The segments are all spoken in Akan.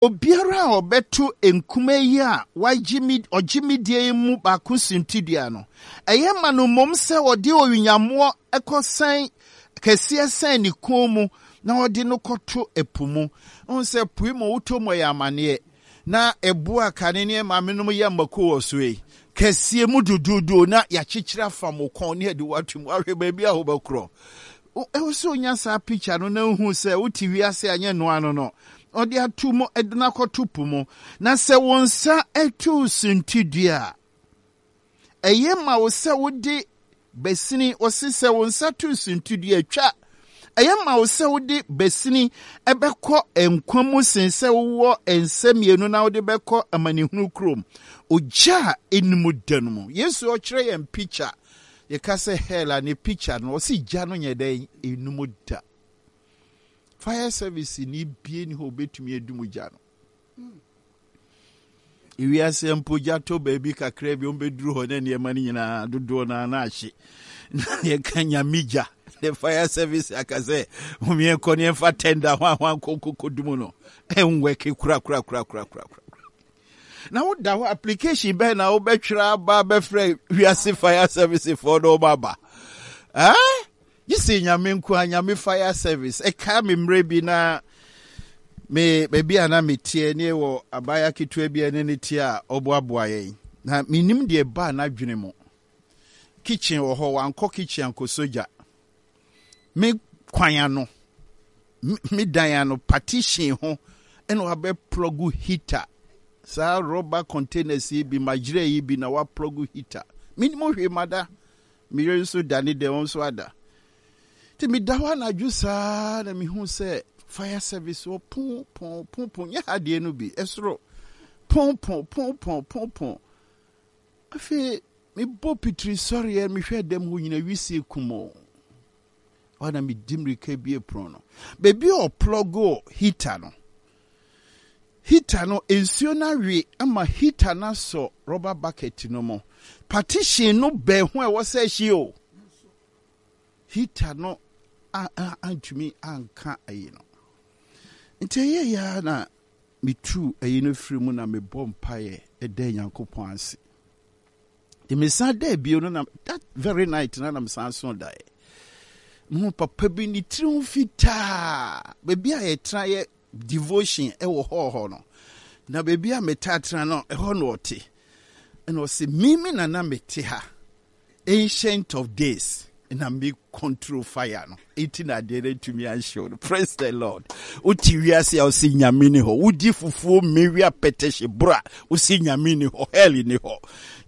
Obiara a ɔbɛto nkumaa yi a wɔagye me ɔgye me die yi mu baako suntidua no, ɛyɛ ma no mmom sɛ ɔde owiyammoɔ kɔsɛn kɛseɛ sɛn ne kɔn mu na ɔde no kɔto ɛpo mu. Wohu sɛ po yi mu wotɔ mu ɛyɛ amaneɛ. Na ɛboɔ a kane ne maamenom yɛ mako wɔ so yi, kɛseɛ mu duduudu na yɛakyekyere afam wo kɔn ne yɛde wo ato mu. Ahwɛ baabi a wobɛkorɔ. Ɛwɔ sɛ onya saa picture no na ohu sɛ wote wiase a nyɛ noa no no. Ɔde ato mu de no akɔto po mu. Na sɛ wo nsa to suntidua a, ɛyɛ ma wo sɛ wode basini, ɔse sɛ wo nsa to suntidua twa. Ɛyɛ ma wo sɛ wode basini bɛkɔ nkwa mu sen sɛ wowɔ nsa mmienu na wode bɛkɔ amanehunu kurom, ogya a ɛnnim da no mu. Yesu ɔkyerɛ yɛn picture Yɛka sɛ hell a ne picture no ɔsi gya no nyɛ dɛn enum da. Fire service ni bie ni hɔ obetumi edum gya no. Ewiase mpo gya tɔ baabi kakra bi wɔn bɛduru hɔ na nneɛma no nyinaa dodoɔ no na ahye. Na yɛka nyame gya the fire service aka sɛ wɔn yɛnkɔ ne yɛmfa tender ho ahoa nkɔnkɔkɔ dum no ɛnwɛke kura kura kura kura kura kura. Na woda hɔ application bɛn na wobɛtwerɛ aba bɛfrɛ wiase fire service foɔ na wɔn aba eh? Gye sɛ nyame nko a nyame fire service ɛka me mmerɛ bi na me baabi a na meteɛ ne wɔ abaya ketewa bi a ne ne teɛ a ɔboaboa yɛn na menim deɛ ɛbaa n'adwene mu kitchen wɔ hɔ wankɔ kitchen ankɔ sogya me kwan ano me dan ano partition ho ɛna wabɛ plug heater saa rubber containers yi bi magyerɛ yi bi na wa plug heater menim hwee mada me yere nso da ne dɛm nso ada nti meda hɔ anadwo saa na mehu sɛ fire service wɔ pon pon pon pon nyɛ ha deɛ no bi ɛsoro pon pon pon pon pon pon afei mebɔ pitiri sɔreɛ mehwɛ dɛm hɔ nyina wisie kum o hɔ na medi mmirika bie pono no baabi a ɔplɔgo heater no heater no nsuo no awe ama heater no asɔ rubber bucket no mu partition no bɛn ho a ɛwɔ sɛ ɛhye o heater no antumi anka ayi no nti ɛyɛ ya na metu ayi no firi mu na mebɔ mpaeɛ ɛda Nyankopɔn ase nti mesan da bio no na that very night na na mesan so daeɛ mehu papa bi ne tiri ho fitaa baabi a yɛtena yɛ devotion ɛwɔ hɔ hɔ no na baabi a metaa tena no ɛhɔ na ɔte ɛna ɔsɛ mimi na na mete ha ancient of days na me control fire no eti na adeɛ no atumi anhyew no. Praise the Lord. Wote wiase a wose nyame ni hɔ. Wodi fufuo mmewi apɛtɛhye bora wose nyame ni hɔ. Hell ni hɔ.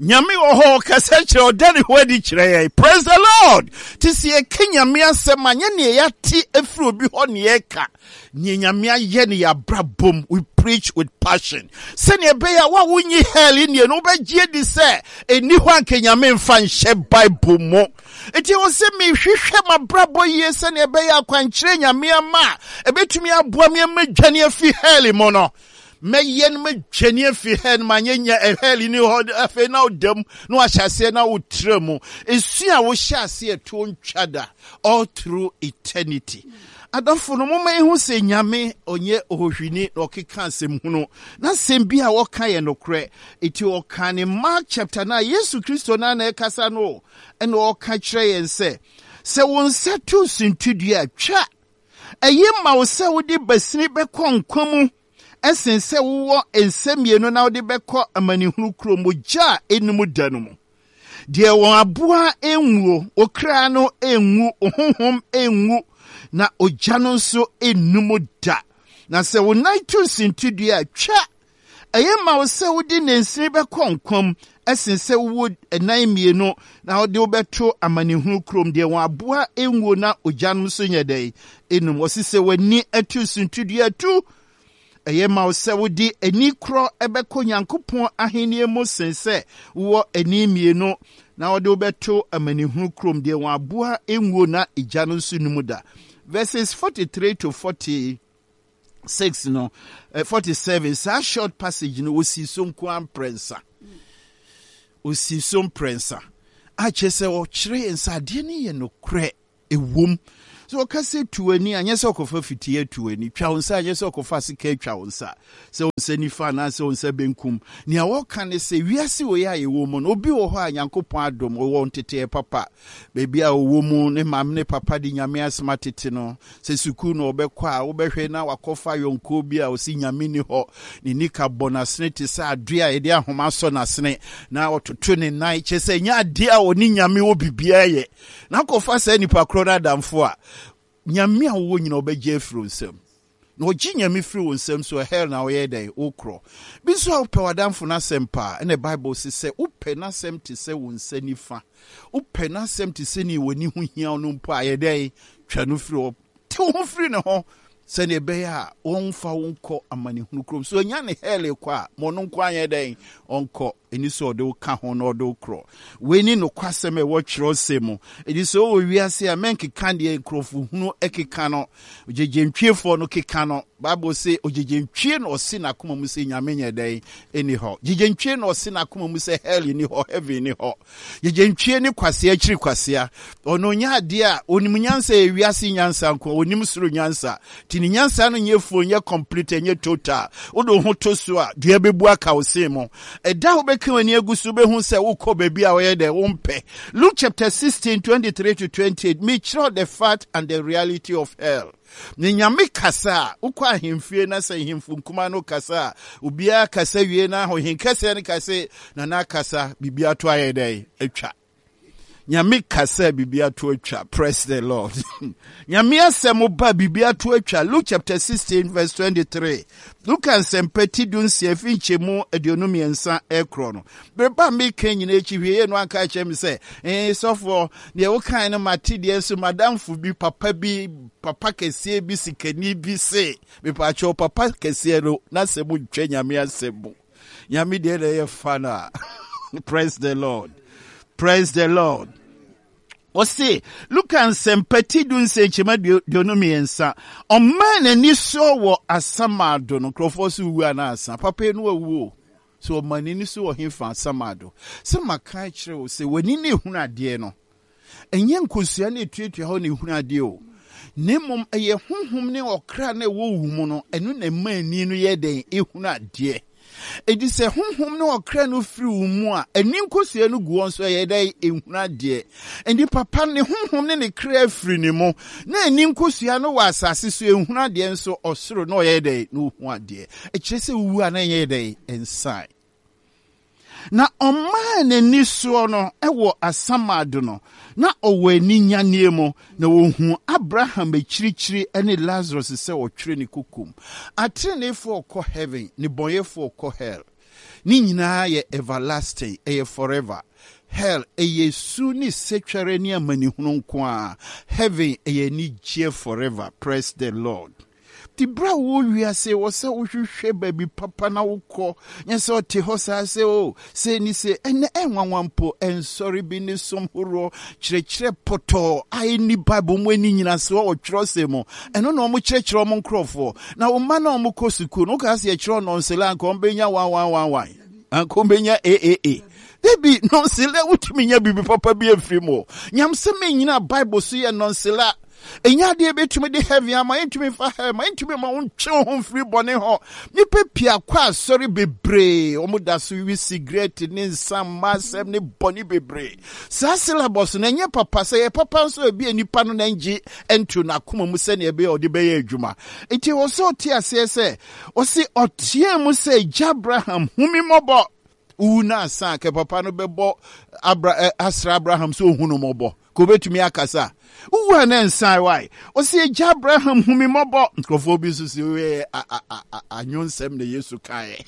Nyame wɔ hɔ ɔkasa kyerɛ ɔda ne ho adi kyerɛ yɛn. Praise the Lord. Te sɛ yɛka nyame asɛm a nyɛ neɛ yɛate afiri obi hɔ ne yɛka. Neɛ nyame ayɛ ne yɛabrabom. We preach with passion. Sɛnea ɛbɛyɛ a wo a wonyi hell nnie no wobɛgye adi sɛ ɛni hɔ anka nyame mfa nhyɛ Bible mu. Enti ɛwɔ sɛ mehwehwɛ m'abrabɔ yie sɛnea ɛbɛyɛ akwankyerɛ Nyame ama a ɛbɛtumi aboa me ama dwane afi hell mu no. Mɛyɛ no madwane afi hell no manyɛ nya eh, hell ni hɔ afei na woda mu na wahyɛ aseɛ na wotra mu. Esu a wohyɛ aseɛ ɛtoɔ ntwa da all through eternity. Adɔfo no, momma yɛhu sɛ Nyame ɔnyɛ ohohwini na ɔkeka asɛm hunu. N'asɛm bi a ɔka yɛ nokorɛ. Enti ɔka ne Mark chapter 9, Yesu Kristo no ara na ɛkasa no o, ɛna ɔka kyerɛ yɛn sɛ, sɛ wo nsa to suntidua a, twa. Ɛye ma wo sɛ wode basini bɛkɔ nkwa mu ɛsen sɛ wowɔ nsa mmienu na wode bɛkɔ amanehunu kurom, ogya a ɛnnim da no mu. Deɛ wɔn aboa nwuo, wo kra no nwu, wo honhom nwu, na ogya no nso nnum da. Na sɛ wo nan to suntidua a, twa. Ɛyɛ ma wo sɛ wode nansini bɛkɔ nkwa mu sen sɛ wowɔ nan mmienu na wode wobɛto amanehunu kurom, deɛ wɔn aboa nwuo na ogya no nso nyɛ dɛn nnum. Wɔse sɛ w'ani to suntidua tu. Ɛyɛ ma wo sɛ wode ani korɔ bɛkɔ Nyankopɔn ahennie mu sen sɛ wowɔ ani mmienu na wɔde wo bɛto amanehunu kurom, deɛ wɔn aboa nwuo na egya no nso nni mu da. Verses 43 to 46 no, 47, saa short passage no, wɔsii so nko ara mprɛnsa. Wɔsii so mprɛnsa. A kyerɛ sɛ wɔkyerɛ yɛn sɛ adeɛ no yɛ nokorɛ. Ɛwom. So ɔka sɛ tu w'ani a, nyɛ sɛ ɔkɔfa fitii atu w'ani. Twa wo nsa a, nyɛ sɛ ɔkɔfa sika atwa wo nsa. Sɛ wo nsa nifa anaasɛ wo nsa benkum. Nea wɔka ne sɛ, wiase wei a yɛwɔ mu no, obi wɔ hɔ a Nyankopɔn adom, ɔwɔ nteteɛ papa. Baabi a ɔwɔ mu, ne maame ne papa de Nyame asɛm atete no. Sɛ sukuu na ɔbɛkɔ a, wobɛhwɛ na wakɔfa yɔnkoɔ bi a ɔse Nyame nni hɔ. Ne nika bɔ n'asene te sɛ adeɛ a yɛde ahoma asɔ n'asene, na ɔtoto ne nan. Kyerɛ sɛ, ɛnyɛ adeɛ a ɔne Nyame wɔ biribiara yɛ. Na akɔfa saa nipa korɔ no adamfo a, Nyame a wowɔ nyina ɔbɛgye afiri wo nsam. Na ɔgye Nyame firi wo nsam so a, hell na woyɛ dɛn? Wokorɔ. Bi nso a wopɛ w'adamfo no asɛm paa, ɛna Bible se sɛ wopɛ n'asɛm te sɛ wo nsa nifa, wopɛ n'asɛm te sɛ nea w'ani ho hia wo no mpo a, yɛ dɛn? Twa no firi hɔ. Te wo ho firi ne ho sɛnea ɛbɛyɛ a wɔmfa wo nkɔ amanehunu kurom. So ɔnya ne hell kɔ a, ma ɔno nko anyɛ dɛn? Ɔnkɔ. Ɛni sɛ ɔde wo ka ho na ɔde wo korɔ. Wei ne nokwasɛm a ɛwɔ twerɛsɛm mu. Ɛdi sɛ wowɔ wiase a, mɛnkeka deɛ nkurɔfo hunu keka no. Ogyegyentwiefoɔ no keka no. Bible se ogyegyentwie na ɔse n'akoma mu sɛ Nyame nyɛ dɛn? Ɛni hɔ. Gyegyentwie na ɔse n'akoma mu sɛ hell ni hɔ, heaven ni hɔ. Gyegyentwie ne kwasea akyiri kwasea. Ɔno ɔnyɛ adeɛ a, ɔnim nyansa yɛ wiase nyansa nko, ɔnim soro nyansa. Nti ne nyansa no nyɛ full, nyɛ complete, ɛnyɛ total. Wode wo ho to so a, dua bɛbu aka wo sen mu. Ɛda a wobɛka w'ani agu so wobɛhu sɛ wokɔ baabi a wɔyɛ dɛ wompɛ. Luke chapter 16, 23 to 28, mekyerɛw the fact and the reality of hell. Ne Nyame kasa a, wokɔ ahemfie na sɛ nhemfo nkumaa no kasa a, obiara kasa wie na ɔhenkɛseɛ no ka se, Nana akasa, biribi ato ayɛ dɛn? Atwa. Nyame kasa biribi ato atwa. Praise the Lord. Nyame asɛm ba biribi ato atwa. Luke chapter 16 verse 23. Luka nsɛmpa ti 16 fi nkyɛmu 23 ɛkorɔ no. Bere ba meka nyina akyi hwee no anka kyerɛ me sɛ, ee sɔfoɔ, deɛ wokae no mate deɛ nso madamfo bi papa bi papa kɛseɛ bi sikani bi se mepaakyɛw papa kɛseɛ no n'asɛm ntwa Nyame asɛm mu. Nyame deɛ na ɛyɛ fa no a. Praise the Lord. Praise the Lord. Ɔse, Luka nsɛmpa ti du nsɛnkyɛm 23, ɔmaa n'ani soɔ wɔ asamado no, nkurɔfoɔ so wu anaa asa, papa yi no awu o. So ɔma n'ani so wɔ hefa asamado? Sɛ maka akyerɛ wo sɛ w'ani na ehunu adeɛ no, ɛnyɛ nkosua na etuatua hɔ na ehunu adeɛ o, na mmom ɛyɛ honhom ne ɔkra na ɛwɔ wo mu no, ɛno na ɛma ani no yɛ dɛn? Ehunu adeɛ. Enti sɛ honhom ne ɔkra no firi wo mu a, ani nkosua no gu hɔ nso ɛyɛ dɛn? Ehunu adeɛ. Enti papa ne honhom ne ne kra firi ne mu, na ani nkosua no wɔ asase so, ehunu adeɛ nso ɔsoro na ɔyɛ dɛn? Na ohu adeɛ. Ɛkyerɛ sɛ wowu a na ɛnyɛ dɛn? Ɛnsan. Na ɔmaa n'ani soɔ no wɔ asamado no, na ɔwɔ aninyanneɛ mu, na ɔhuu Abraham akyirikyiri ne Lazarus sɛ ɔtwere ne kokom. Ateneneefoɔ kɔ heaven, nnebɔneyɛfoɔ kɔ hell. Ne nyinaa yɛ everlasting, ɛyɛ forever. Hell, ɛyɛ su ne setwɛre ne amanehunu nko ara. Heaven, ɛyɛ anigyeɛ forever. Praise the Lord. Nti berɛ a wowɔ wiase wɔ sɛ wohwehwɛ baabi papa na wokɔ, nyɛ sɛ ɔte hɔ saa sɛ o oh, sei ne sei. Ɛnɛ ɛnwanwa mpo, nsɔre bi ne som horoɔ kyerɛkyerɛ pɔtɔɔ a ɛnni Bible mu ɛnni nyinasoɔ wɔ twerɛsɛm mu. Ɛno na wɔn kyerɛkyerɛ wɔn nkurɔfoɔ. Na wɔn mma na wɔn kɔ sukuu no, wokaa sɛ yɛkyerɛ nɔnsela anka wɔn bɛnya 1111, anka wɔn bɛnya AAA. Dabi, nɔnsela wotumi nya biribi papa bi afiri mu. Nyamsɛm nyina Bible so yɛ nɔnsela. Ɛnyɛ adeɛ ɛbɛtumi de heaven ama, ɛntumi mfa hell ma, ɛntumi ma wontwe wo ho mfiri bɔne hɔ. Nnipa pii akɔ asɔre bebree, wɔn da so wi sigaret ne nsa mma asɛm ne bɔne bebree. Saa syllabus no ɛnyɛ papa, sɛ ɛyɛ papa nso ebi a nipa no na ngye nto n'akoma mu sɛnea ɛbɛyɛ ɔde bɛyɛ adwuma. Nti wɔ sɛ ɔte aseɛ sɛ, ɔse ɔteɛ mu sɛ, Gya Abraham, hu me mmɔbɔ. Wowu no ansa a, kɛ papa no bɛbɔ Abra, eh, asra Abraham sɛ ohu no mmɔbɔ. Ka obetumi akasa. Wowu a na nsan wae. Ɔsi agya Abraham hu me mmɔbɔ. Nkurɔfoɔ bi nso si yɛ anwonsɛm na Yesu kaeɛ.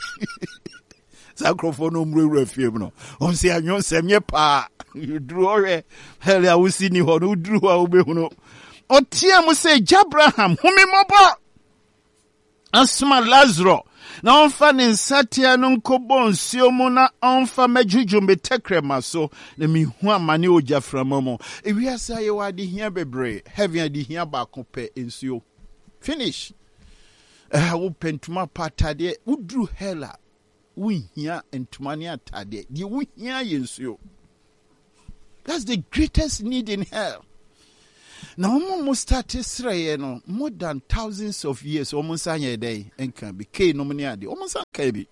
Saa nkurɔfoɔ no ɔmmurawura fie mu no. Wɔn sɛ anwonsɛm nyɛ paa. Duru hɔ hwɛ. Hɛlɛ a wosi ni hɔ no, woduru hɔ a wobɛhunu. Ɔteɛ mu sɛ agya Abraham hu me mmɔbɔ. Asoma Lasaro na ɔmfa ne nsateaa no nkɔbɔ nsuo mu na ɔmfa mɛdwodwo me tɛkrɛma so na mehu amane wɔ gyaframa mu. Ewiase ayɛ wɔ adehia bebree. Heaven adehia baako pɛ, nsuo. Finish. Ɛha wopɛ ntoma pa atadeɛ, woduru hell a, wonhia ntoma ne atadeɛ. Deɛ wohia yɛ nsuo. That's the greatest need in hell. Na wɔn a wɔn starte srɛeɛ no more than thousands of years wɔn nsa nyɛ dɛn nka bi. Cain nom ne adeɛ wɔn nsa nka bi.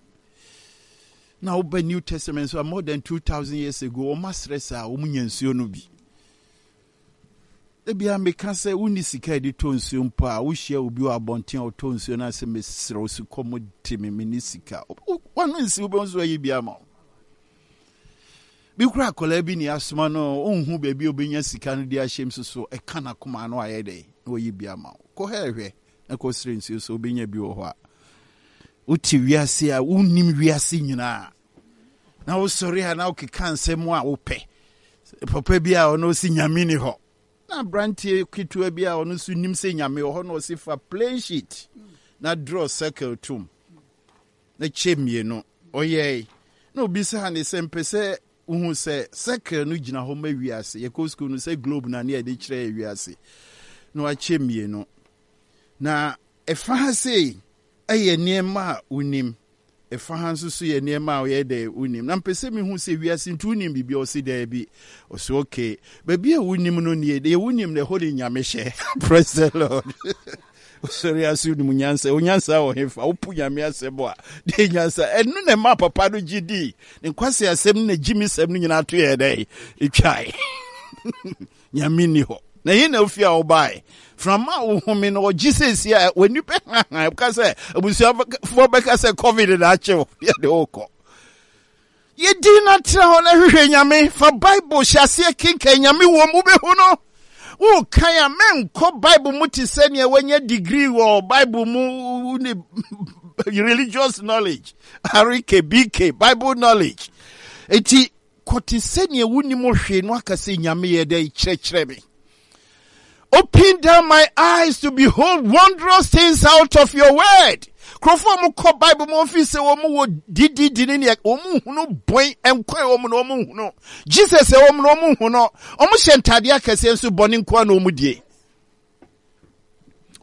Na woba New Testament nso a more than 2000 years ago wɔn asrɛ saa wɔn nya nsuo no bi. Ebia meka sɛ wonni sika a yɛde tɔ nsuo mpo a wohyia obi wɔ abɔnten a ɔtɔ nsuo no asɛ mesrɛ wo sukɔm de me menni sika. Wano nsi wobɛhu so ayi bi ama wo. Bi koraa akwadaa bi ne asoma no ɔnhu baabi a ɔbɛnya sika no de ahyɛm so so ɛka n'akoma ano ayɛ dɛn na wayi bi ama wo. Kɔ hɛ hwɛ na kɔsrɛ nsuo sɛ wobɛnya bi wɔ hɔ a. Wote wiase a wonnim wiase nyinaa na wosɔre a na wokeka nsɛm a wopɛ. Papa bi a ɔno ɔsi nyame ni hɔ na aberanteɛ ketewa bi a ɔno nso nim sɛ nyame wɔ hɔ na ɔsi fa plain sheet na draw circle tom na kyɛ mmienu. Ɔyɛe. Na obisaa no sɛ, Mepɛ sɛ wohu sɛ circle no gyina hɔ ma wiase. Yɛkɔ sukuu no, sɛ globe na ne yɛde kyerɛ yɛ wiase. Na wakyɛ mmienu. Na ɛfa ha sei ɛyɛ nneɛma a wonim. Ɛfa ha nso so yɛ nneɛma a ɔyɛ dɛ wonim. Na mpɛ sɛ mehu sɛ wiase nti wonim biribi. Ɔse daabi. Ɔse okay. Baabi a wonim no nie. Deɛ wonim no ɛhɔ ne Nyame hyɛ. Praise the Lord. Wosɔre ase wonim nyansa. Wo nyansa wɔ hefa? Wopo Nyame asɛm a, deɛ nyansa. Ɛno na ɛma papa no gye dii. Ne nkwasi asɛm ne n'agyimisɛm no nyinaa to yɛ dɛn? Ɛtwae. Nyame nni hɔ. Na ɛhe na ofi a wobae? Frama a wohome no ɔgye seesie a w'ani bɛhaha. Ɛka sɛ abusuafoɔ bɛka sɛ COVID na akye wo. Yɛde wokɔ. Yɛ din na tena hɔ na hwehwɛ Nyame. Fa Bible hyɛ aseɛ kenkan Nyame wom, wobɛhu no. Wokan a, mɛnkɔ Bible mu te sɛ nea wanya degree wɔ Bible mu ne religious knowledge, RK, BK, Bible knowledge. Eti kɔ te sɛ nea wonim hwee no aka sɛ Nyame yɛ dɛ kyerɛkyerɛ me. Open down my eyes to behold wondrous things out of your word. Nkurɔfoɔ a wɔkɔ Bible mu wɔn fi sɛ wɔn wɔ dididi ne nea wɔn hunu bɔn nkwa wɔn na wɔn hunu Jesus wɔn na wɔn hunu wɔn hyɛ ntaadeɛ akɛseɛ nso bɔne nkoa na wɔn die.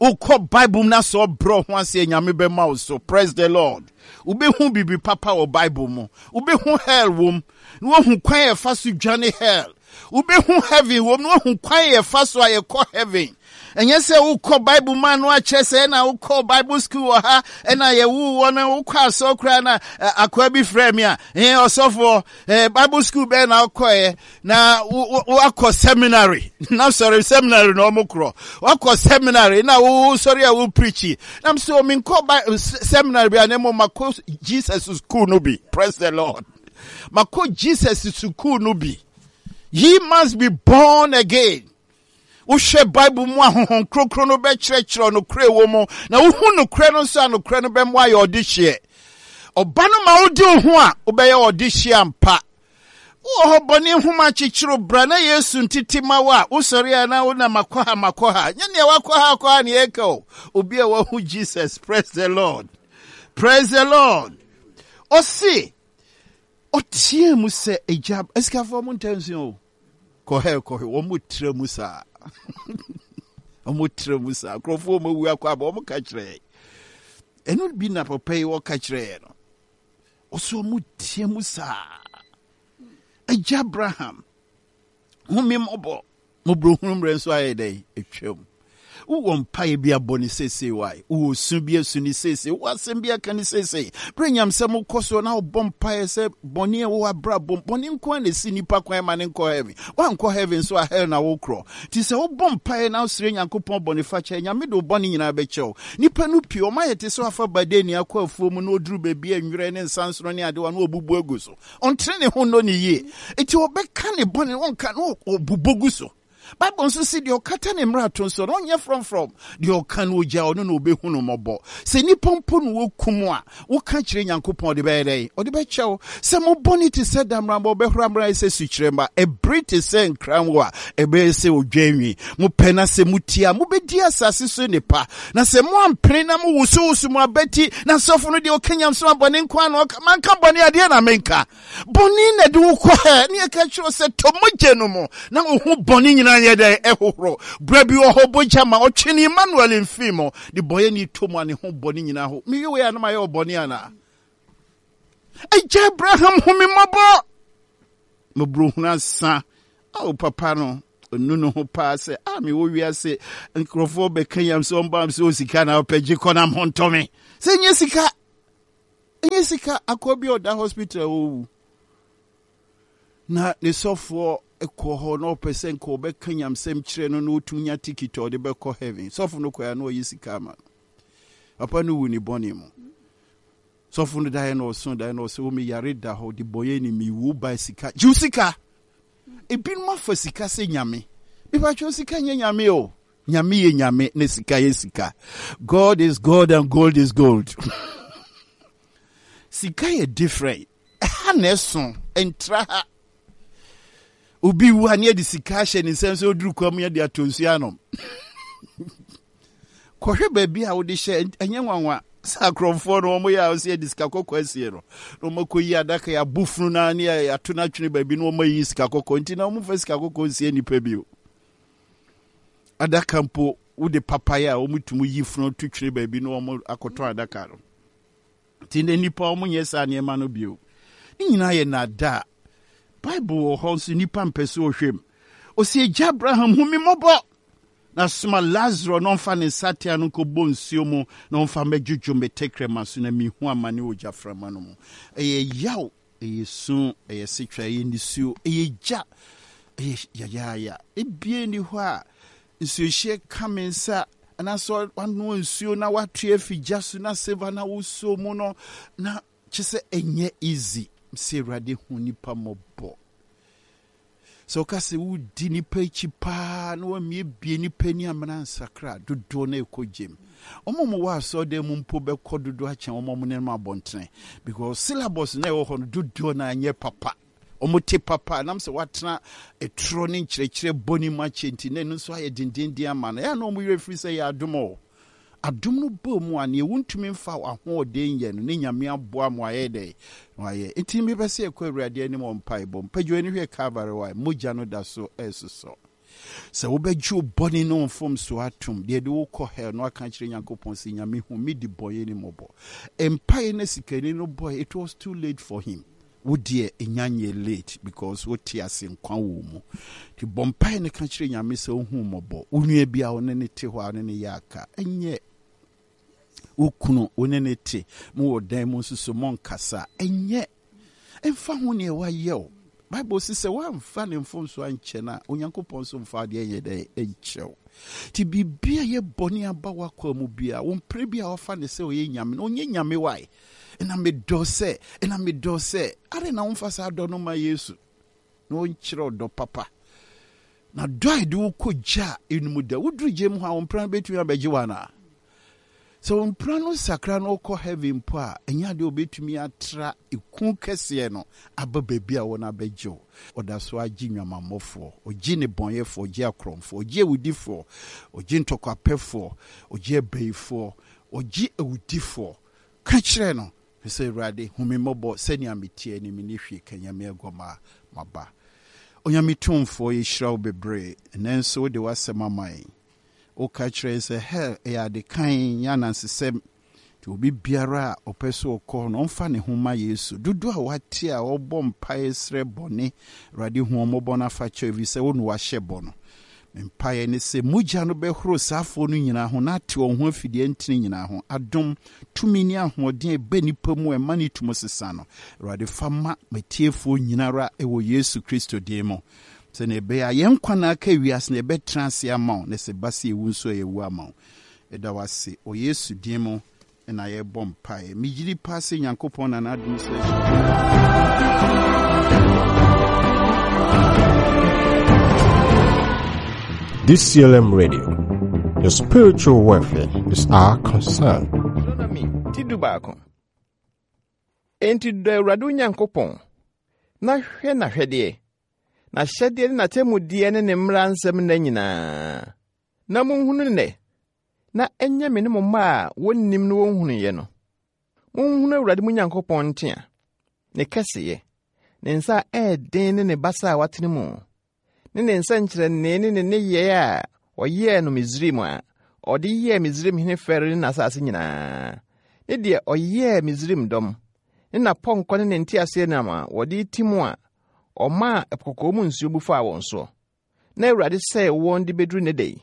Wokɔ Bible mu na sɛ ɔbrɛ ho ase Nyame bɛma wo so. Praise the Lord. Wobɛhu biribi papa wɔ Bible mu. Wobɛhu hell wom na woahu kwan a ɛfa so dwane hell. Wobɛhu heaven wom na woahu kwan a yɛfa so a yɛkɔ heaven. Ɛnyɛ sɛ wokɔ Bible mu a no akyerɛ sɛ ɛna wokɔ Bible school wɔ ha ɛna yɛwo wɔ no wokɔ asɔ koraa na akoa bi frɛ me a ɛɛ ɔsɔfoɔ ɛɛ Bible school bɛɛ na wokɔɛ na wakɔ seminary na sɔre seminary na ɔmo korɔ wakɔ seminary na wo sɔre a wo preachi na sɛ ɔmo nkɔ seminary bi a na mo makɔ Jesus school no bi. Praise the Lord. Makɔ Jesus school no bi. Ye must be born again. Wohwɛ Bible mu a Honhom Kronkron no bɛkyerɛkyerɛ nokorɛ wɔ mu, na wohu nokorɛ no nso a nokorɛ no bɛmo ayɛ ɔdehyeɛ. Ɔba no ma wode wo ho a, wobɛyɛ ɔdehyeɛ ampa. Wowɔ hɔ bɔne nhoma kyekyere bra na Yesu ntete ma wo a, wosɔre a na wo na makɔ ha makɔ ha. Nyɛ nea wakɔ ha akɔ ha ne yɛka o. Obi a wahu Jesus, praise the Lord. Praise the Lord. Ɔse, ɔteɛ mu sɛ, agya, asikafoɔ mo ntaa nsua o. Kɔhɛ kɔhɛ, wɔn mo tira mu saa. Wɔn mo tira mu saa. Nkurɔfoɔ wɔn awu akɔ aba, wɔn ka kyerɛ yɛn. Ɛno bi na papa yi wɔka kyerɛ yɛn no. Ɔsɛ wɔn mo teɛ mu saa. Agya Abraham, hu me mmɔbɔ. Mmɔborɔhunu mmerɛ nso ayɛ dɛn? Atwam. Wowɔ mpaeɛ bi abɔ no seesei wae? Wowɔ su bi asu no seesei? Wowɔ asɛm bi aka no seesei? Berɛ nyamsɛm kɔ soɔ na wobɔ mpaeɛ sɛ bɔne a ɛwɔ w'abrabɔ mu, bɔne nko ara na ɛsi nnipa kwan ma no nkɔ heaven. Woankɔ heaven nso a hell na wokorɔ. Nti sɛ wobɔ mpaeɛ na wosrɛ Nyankopɔn bɔnefakyɛ a, Nyame de wo bɔne nyinaa bɛkyɛ wo. Nnipa no pii, wɔayɛ te sɛ wafa badeni akɔ afuo mu na ɔduru baabi a nwerɛ ne nsansono ne adewa na ɔbubu agu so. Ɔntene ne ho nnɔ ne yie. Enti ɔbɛka ne bɔne no, ɔnka na ɔbobɔ gu so. Bible nso se deɛ ɔkata ne mmarato so no, ɔnyɛ frɔmfrɔm. Deɛ ɔka no ogya, ɔno na ɔbɛhu no mmɔbɔ. Sɛ nnipa mpo na wɔkum a, woka kyerɛ Nyankopɔn, ɔde bɛyɛ dɛn? Ɔde bɛkyɛ wo. Sɛ mo bɔne te sɛ dammerama, ɔbɛhora mmra ayɛ sɛ sukyerɛmma. Ɛbere te sɛ nkranwo a, ɛbɛyɛ sɛ odwan nwi. Mopɛ na sɛ motie a, mobɛdi asase so nnepa. Na sɛ moampene na mowosowoso mo abati, na sɔfo no deɛ ɔka nyamesom a bɔne nko ara na ɔka, manka bɔne adeɛ na menka. Bɔne na ɛde wo kɔ hɛ, ne yɛka kyerɛ sɛ tɔ mogya no mu na wo ho bɔne nyinaa yɛ dɛn ɛhohoro. Berɛ bi wɔ hɔ bogya ma ɔtwe ne Emmanuel mfii mu, de bɔyɛni tɔ mu a ne ho bɔne nyinaa ho. Meyɛ wei a na mayɛ ɔbɔne anaa? Agya Abraham hu me mmɔbɔ. Mmɔborɔhunu asa. Ao papa no. Ɔnu ne ho paa sɛ, a mewɔ wiase nkurɔfoɔ bɛka yam sɛ ɔmba m sɛ o sika na wopɛ gye kɔ na ho ntɔ me. Sɛ ɛnyɛ sika, ɛnyɛ sika. Akɔ bi a ɔda hospital a ɔwu. Na ne sɔfoɔ kɔ hɔ na ɔpɛ sɛ nka ɔbɛka nyamsɛm kyerɛ no na ɔtumi nya tikiti a ɔde bɛkɔ heaven. Sɔfo no kɔɛ a na ɔyi sika ama no. Papa no wu ne bɔne mu. Sɔfo no daeɛ na ɔso daeɛ na ɔsɛ wo me yare da hɔ de bɔyɛ ni me wu ba sika. Gye wo sika. Ebinom afa sika sɛ nyame. Mepakyɛw sika nyɛ nyame o. Nyame yɛ nyame na sika yɛ sika. God is God and gold is gold. Sika yɛ different. Ɛha na ɛso, ɛntra ha. Obi wu a ne yɛde sika ahyɛ ne nsam sɛ ɔduru kwa mu yɛde atɔ nsuo anom. Kɔhwɛ baabi a wode hyɛ, ɛnyɛ nwanwa sɛ akorɔmfoɔ no wɔn yɛ a wɔsɛ yɛde sika kɔkɔɔ asie no na wɔn akɔyi adaka yɛ abo funu no ne yɛato no atwene baabi na wɔn ayi sika kɔkɔɔ nti na wɔn mfa sika kɔkɔɔ nsie nipa bio. Adaka mpo wode papayɛ a wɔn tumi yi funu to twene baabi na wɔn akɔtɔn adaka no. Nti nnɛ nnipa wɔn nyɛ saa nneɛma no bio. Ne nyinaa yɛ nnaadaa. Bible wɔ hɔ nso nnipa mpɛ sɛ wɔhwɛ mu. Ɔsi agya Abraham hu me mmɔbɔ na soma Lazaro na ɔmfa ne nsateaa no nkɔbɔ nsuo mu na ɔmfa mmɛdwodwo me tɛkrɛma so na mehu amane wɔ gyaframa no mu. Ɛyɛ yaw, ɛyɛ su, ɛyɛ setwa, ɛyɛ nisuo, ɛyɛ gya, ɛyɛ yayaaya. Ebie nni hɔ a nsuohyeɛ ka me nsa anaasɛ wanoa nsuo na watoa afi gya so na silver na wosɔ mu no na kyɛ sɛ ɛnyɛ easy sɛ Awurade hu nipa mmɔbɔ. Sɛ woka sɛ wodi nipa akyi paa na wamiebie nipa ani amena nsakra dodoɔ na ɛkɔ gyem. Wɔn a wɔwɔ asɔredan mu mpo bɛkɔ dodoɔ akyɛn wɔn a wɔnenam abɔntene because syllabus na ɛwɔ hɔ no dodoɔ na anyɛ papa. Wɔte papa a, nam sɛ wɔatena ɛtorɔ ne nkyerɛkyerɛ bɔne mu akyɛ nti, na ɛno nso ayɛ dendeenden ama no. Ɛyɛ a na wɔn werɛ firi sɛ ɛyɛ adom o. Adom no baa mu a, nea wontumi mfa w'ahoɔden nyɛ no, ne Nyame aboa ma wayɛ dɛn? Na wayɛ. Enti mepɛ sɛ yɛkɔ Awurade anim wɔ mpaebɔ mu. Pagya w'ani hwɛ Calvary hɔ a, mogya no da so resosɔ. Sɛ wobɛgye wo bɔne ne wo mfomsoɔ atom, deɛ ɛde wo kɔ hell no aka akyerɛ Nyankopɔn sɛ, Nyame hu me debɔyɛni mmɔbɔ. Mpaeɛ no a sikani no bɔeɛ, it was too late for him. Wo deɛ ɛnya nyɛ late because wo te ase nkwa wɔ wo mu. Nti bɔ mpaeɛ no ka kyerɛ Nyame sɛ ɔhu wo mmɔbɔ. Wo nua bi a wo ne no te hɔ a wo ne no yɛ aka, ɛnyɛ wo kunu wo ne no te mo wɔ dan mu nso so monkasa, ɛnyɛ. Ɛmfa ho neɛ wayɛ wo. Bible se sɛ woamfa ne mfomsoɔ ankyɛ no a, Onyankopɔn nso mfa adeɛ nyɛ dɛn nkyɛ wo. Nti biribi a ɛyɛ bɔne aba w'akwaa mu biara, wo mpere bi a wafa no sɛ ɔyɛ Nyame no, ɔnyɛ Nyame wae. Ɛna medɔ sɛ, ɛna medɔ sɛ, adɛn na womfa saa dɔ no ma Yesu na ɔnkyerɛ ɔdɔ papa? Na dɔ a ɛde wo kɔ gya a ɛnum da, woduru gya mu hɔ a, wo mpena no bɛtumi abɛgye wo anaa? Sɛ wo mpena no sakra na ɔkɔ heaven mpo a, ɛnyɛ adeɛ a ɔbɛtumi atra eku kɛseɛ no aba baabi a wɔn abɛgye wo. Ɔda so ara gye nnwamammɔfoɔ, ɔgye nnebɔneyɛfoɔ, ɔgye akorɔmfoɔ, ɔgye awudifoɔ, ɔgye ntɔkwapɛfoɔ, ɔgye abayifoɔ, ɔgye awudifoɔ. Ka kyerɛ no sɛ, Awurade, hu me mmɔbɔ, sɛnea meteɛ ni, menni hwee ka Nyame aguamaa, maba. Onyame Tumfoɔ, yɛhyira wo bebree, ɛnnɛ nso wode w'asɛm ama yɛn. Woka kyerɛ yɛn sɛ hell yɛ ade kann, nyɛ anansesɛm. Nti obi biara a ɔpɛ sɛ ɔkɔ hɔ no, ɔmfa ne ho mma Yesu. Dodoɔ a wɔate a wɔbɔ mpaeɛ srɛ bɔne, Awurade hu wɔn mmɔbɔ na fa kyɛ wɔn, ɛfiri sɛ wo na woahyɛ bɔ no. Me mpaeɛ ne sɛ mogya no bɛhoro saa afoɔ no nyinaa ho na ate wɔn ho afi deɛ ɛntene nyinaa ho. Adom, tumi ne ahoɔden a ɛba nnipa mu a ɛma ne tum sesa no, Awurade fa ma m'atiefoɔ nyina ara wɔ Yesu Kristo din mu, sɛdeɛ ɛbɛyɛ a yɛn nkwa na aka wiase no yɛbɛtena ase ama wo, na sɛ ɛba sɛ yɛwu nso a yɛawu ama wo. Yɛda wo ase wɔ Yesu din mu na yɛrebɔ mpaeɛ. Megye di paa sɛ Nyankopɔn na n'adom so ahyira. DCLM Radio, your spiritual welfare is our concern. Deuteronomy ti dubaako. Enti dɔ Awurade wo Nyankopɔn, na hwɛ n'ahwɛdeɛ, n'ahyɛdeɛ ne n'atemmudeɛ ne ne mmara nsɛm nna nyinaa. Na monhunu nnɛ, na ɛnyɛ me ne mo mma a wɔnnim no wɔnhunuiɛ no. Monhunu Awurade mo Nyankopɔn ntea, ne kɛseyɛ, ne nsa a ɛyɛ den ne ne basa a watene mu, ne ne nsɛnkyerɛnne ne ne nneyɛe a ɔyɛɛ no Misraim a ɔde yɛɛ Misraim hene Farao ne n'asase nyinaa, ne deɛ ɔyɛɛ Misraim dɔm, ne n'apɔnkɔ ne ne nteaseɛnam a wɔde ti mu a ɔmaa Ɛpo Kɔkɔɔ mu nsuo bu faa wɔn soɔ. na Awurade sɛee wɔn de bɛduru nnɛ da yi,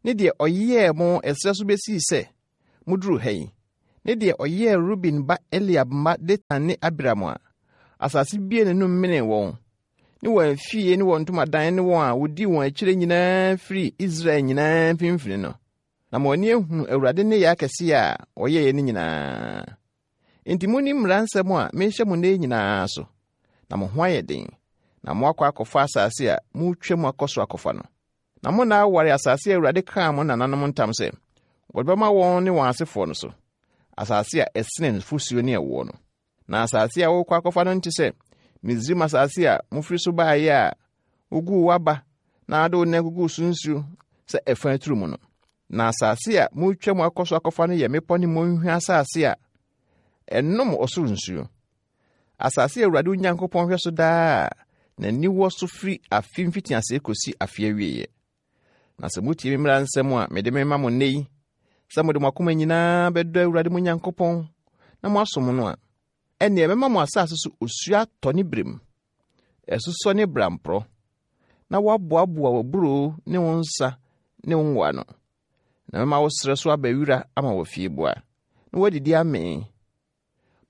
ne deɛ ɔyɛɛ mo ɛserɛ so bɛsii sɛ moduruu ha yi, ne deɛ ɔyɛɛ Ruben ba Eliab mma Datan ne Abiram a asase buee n'anom menee wɔn, ne wɔn afie ne wɔn ntomadan ne wɔn a wɔdii wɔn akyire nyinaa firii Israel nyinaa mfimfini no, na mo ani ahunu Awurade nneyɛe akɛseɛ a ɔyɛeɛ no nyinaa. Enti monni mmara nsɛm a merehyɛ mo nnɛ yi nyinaa so, na mo ho ayɛ den, na moakɔ akɔfa asase a moretwa mu akɔ so akɔfa no. Na mo nna aware asase a Awurade kaa mo nananom ntam sɛ ɔde bɛma wɔn ne wɔn asefoɔ no so, asase a ɛsene nufosuo ne ɛwoɔ no. Na asase a worekɔ akɔfa no nte sɛ Misraim asase a mofiri so baeɛ a woguu w'aba na wode wo nan guguu so nsuo sɛ ɛfa aturu mu no. Na asase a moretwa mu akɔ so akɔfa no yɛ mmepɔ ne mmɔnhwa asase a ɛnom ɔsoro nsuo. Asase a Awurade wo Nyankopɔn hwɛ so daa a n'ani wɔ so firi afe mfitiaseɛ kɔsi afe awieeɛ. Na sɛ motie me mmara nsɛm a mede mema mo nnɛ yi, sɛ mode mo akoma nyinaa bɛdɔ Awurade mo Nyankopɔn na moasom no a, ɛnneɛ mɛma mo asase so osuo atɔ ne berɛ mu, asusɔ ne bramporɔ, na woaboaboa w'aburoo ne wo nsa ne wo ngo ano. Na mɛma wo serɛ so aba wira ama w'afieboa, na woadidi amee.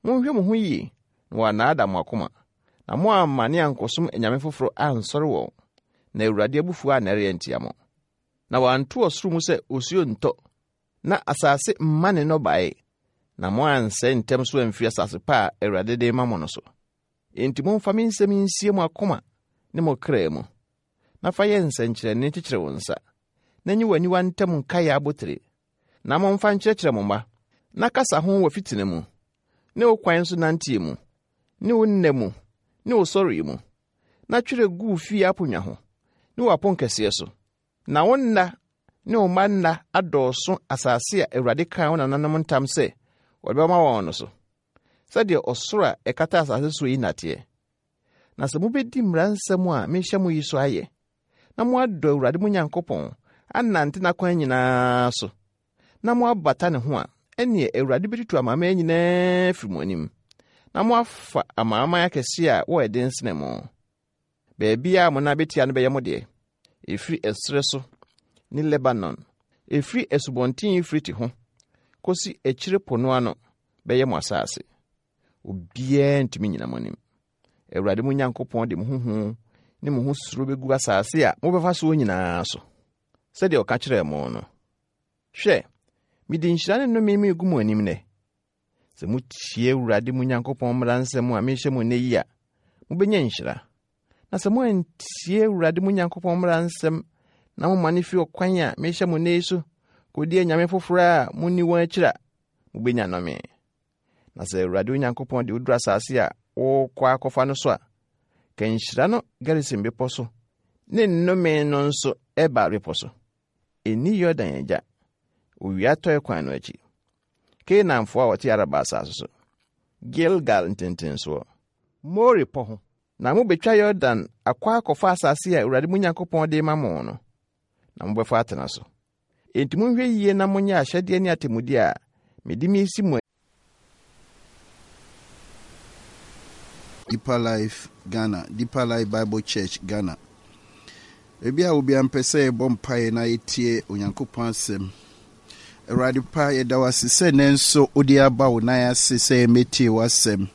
Monhwɛ mo ho yie na wɔannaadaa mo akoma, na moammane ankɔsom anyame foforɔ ansɔre wɔn, na Awurade abufuo annɛre antia mo. Na wanto ɔsoro mu sɛ osuo nntɔ, na asase mma ne nnɔbaeɛ, na moansɛe ntɛm so amfiri asase pa a Awurade de rema mo no so. Enti momfa me nsɛm yi nsie mo akoma ne mo kra mu, na fa yɛ nsɛnkyerɛnne kyekyere wo nsa, na nyi w'aniwa ntam nkaeɛ abotire, Na momfa nkyerɛkyerɛ mo mma, na kasa ho wɔ fitena mu, ne wo kwan so nanteɛ mu, ne wo nna mu, ne wo sɔreɛ mu, na twerɛ gu wo fie aponnwa ho, ne w'aponkɛseɛ so, na wo nna ne wo mma nna adɔɔso asase a Awurade kaa wo nananom ntam sɛ ɔde bɛma wɔn no so, sɛdeɛ ɔsoro a ɛkata asase soɔ yi nna teɛ. Na sɛ mobɛdi mmara nsɛm a mehyɛ mo yi so ayɛ, na moadɔ Awurade mo Nyankopɔn, anante n'akwan nyinaa so, na moabata ne ho a, ɛnneɛ Awurade bɛtutu amanaman nyinaa afiri mo anim, na moafa amanaman akɛseɛ a wɔyɛ den sene mo. Baabiara a mo nan bɛtia no bɛyɛ mo deɛ, ɛfiri ɛserɛ so ne Lebanon, ɛfiri Asubɔnten Eufrate ho kɔsi akyire po no ano bɛyɛ mo asase. Obiara ntumi nnyina mo anim. Awurade mo Nyankopɔn de mo ho hu ne mo ho suro bɛgu asase a mobɛfa soɔ nyinaa so, sɛdeɛ ɔka kyerɛɛ mo no. Hwɛ, mede nhyira ne nnome meregu mo anim nnɛ. Sɛ motie Awurade mo Nyankopɔn mmara nsɛm a mehyɛ mo nnɛ yi a, mobɛnya nhyira. Na sɛ moantie Awurade mo Nyankopɔn mmara nsɛm na momane fi ɔkwan a mehyɛ mo nnɛ yi so kɔdi anyame foforɔ a monni wɔn akyiri a, mobɛnya nnome. Na sɛ Awurade wo Nyankopɔn de wo duru asase a worekɔ akɔfa no so a, ka nhyira no Gerisim bepɔ so ne nnome no nso Ebal bepɔ so. Ɛnni Yordan agya, owia atɔe kwan no akyi. Kanaanfoɔ a wɔte Araba asase so, Gilgal ntentensoɔ, More pɔ ho. Na mobɛtwa Yordan akɔ akɔfa asase a Awurade mo Nyankopɔn de rema mo no, na mobɛfa atena so. Enti monhwɛ yie na monyɛ ahyɛdeɛ ne atemmudeɛ a mede meresi mo Deeper Life Ghana, Deeper Life Bible Church Ghana. Baabi a obiara mpɛ sɛ yɛbɔ mpaeɛ na yɛtie Onyankopɔn asɛm. Awurade pa, yɛda wo ase sɛ nnɛ nso wode aba wo nan ase sɛ yɛmmɛtie w'asɛm.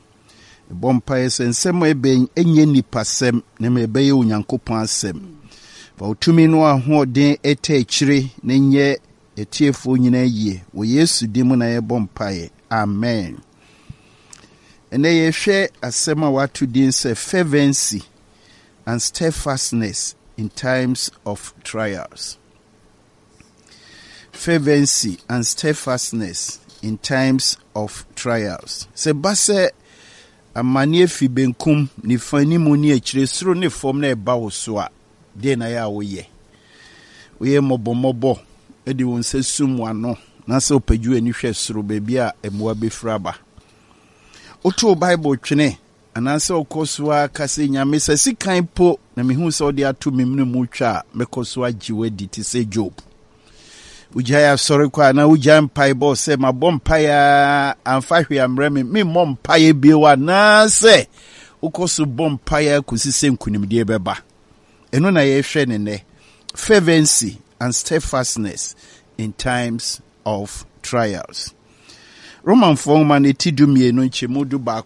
Mebɔ mpaeɛ sɛ nsɛm a ɛbɛn ɛnyɛ nnipasɛm na mmom ɛbɛyɛ Onyankopɔn asɛm. Fa wo tumi no ahoɔden ɛtɛ akyire na nyɛ atiefoɔ nyinaa yie. Wɔ Yesu din mu na yɛbɔ mpaeɛ. Amen. Ɛnɛ yɛhwɛ asɛm a wɔato din sɛ fervency and steadfastness in times of trials. Fervency and steadfastness in times of trials. Sɛ ba sɛ amanneɛ fi benkum, nifa, anim ne akyire, soro ne fam na ɛba wo so a, deɛ na yɛ a woyɛ? Woyɛ mmɔbɔmmɔbɔ de wo nsa sum w'ano na sɛ wopagye w'ani hwɛ soro baabi a mmoa bɛfiri aba. Wotow Bible twene Anaasɛ ɔkɔ so ara ka sɛ, Nyame, sɛ sekan po na mihu sɛ wode ato me mene mu twa a, mɛkɔ so agye wo adi te sɛ Job. Wogyae asɔre kɔ anaa wogyae mpaebɔ sɛ mabɔ mpae a amfa hwee ammrɛ me, memmɔ mpaeɛ bio anaasɛ wokɔ so bɔ mpaeɛ kɔsi sɛ nkonimdie bɛba. Ɛno na yɛhwɛ ne nnɛ. Fervency and steadfastness in times of trials. Romanfoɔ nwoma no ti 12 nkyɛmu 11.